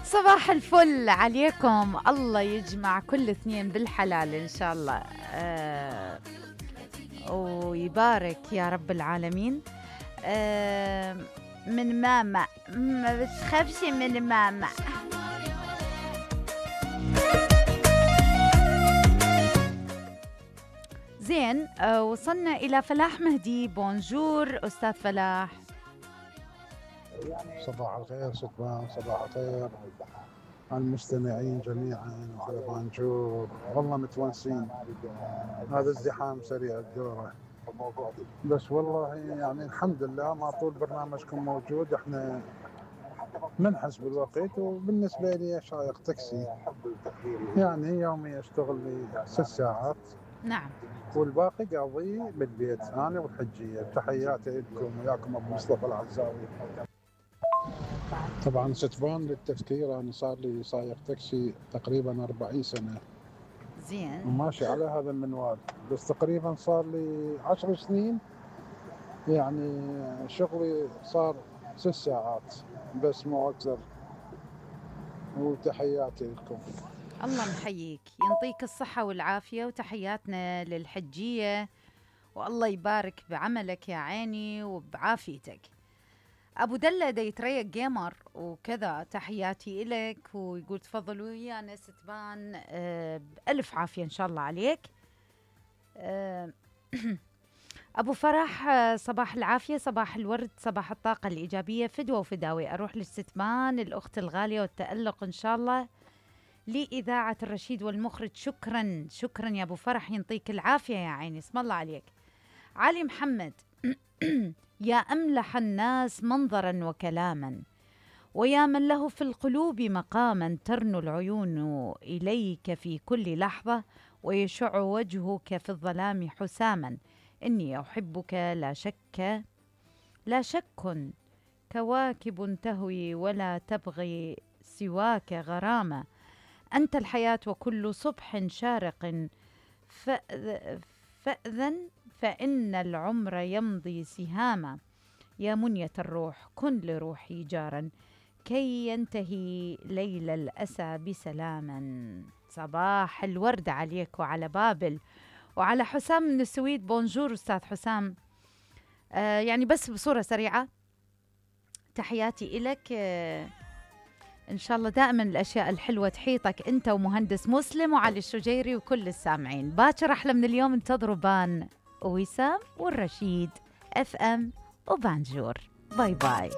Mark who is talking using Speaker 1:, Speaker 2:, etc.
Speaker 1: صباح الفل عليكم، الله يجمع كل اثنين بالحلال إن شاء الله. ويبارك يا رب العالمين. من ماما، ما بتخافش من ماما. زين. وصلنا إلى فلاح مهدي. بونجور أستاذ فلاح.
Speaker 2: صباح الخير ستبان، صباح الخير على المستمعين جميعا وعلى بانجور. والله متونسين، هذا الزحام سريع الدورة، بس والله يعني الحمد لله ما طول برنامجكم موجود. احنا منحس بالوقت، وبالنسبة لي شايق تاكسي، يعني يومي اشتغل لي 6 ساعات.
Speaker 1: نعم.
Speaker 2: والباقي قاضي بالبيت انا والحجية. تحياتي لكم، وياكم ابو مصطفى العزاوي. طبعا ستبان للتذكير، انا صار لي سايق تاكسي تقريبا 40 سنة
Speaker 1: زين.
Speaker 2: وماشي على هذا المنوال، بس تقريبا صار لي 10 سنين يعني شغلي صار 6 ساعات بس مو اكثر. وتحياتي لكم.
Speaker 1: الله محييك، ينطيك الصحة والعافية، وتحياتنا للحجية، والله يبارك بعملك يا عيني وبعافيتك. أبو دلة دا يتريق جيمر وكذا، تحياتي إلك، ويقول تفضلوا ويانا ستبان. بألف عافية إن شاء الله عليك. أبو فرح، صباح العافية، صباح الورد، صباح الطاقة الإيجابية، فدوة وفداوي أروح للستبان الأخت الغالية والتألق إن شاء الله لإذاعة الرشيد والمخرج. شكرا شكرا يا أبو فرح، ينطيك العافية يا عيني، اسم الله عليك. علي محمد يا أملح الناس منظرا وكلاما، ويا من له في القلوب مقاما، ترنو العيون إليك في كل لحظة، ويشع وجهك في الظلام حساما. إني أحبك لا شك، كواكب تهوي ولا تبغي سواك غرامة. أنت الحياة وكل صبح شارق، فأذن فإن العمر يمضي سهاما. يا منية الروح كن لروحي جارا، كي ينتهي ليل الأسى بسلاما. صباح الورد عليك وعلى بابل وعلى حسام من السويد. بونجور أستاذ حسام. يعني بس بصورة سريعة تحياتي إلك. إن شاء الله دائما الأشياء الحلوة تحيطك أنت ومهندس مسلم وعلي الشجيري وكل السامعين. باكر أحلى من اليوم، انتظروا بان وسام والرشيد FM وبانجور. باي باي.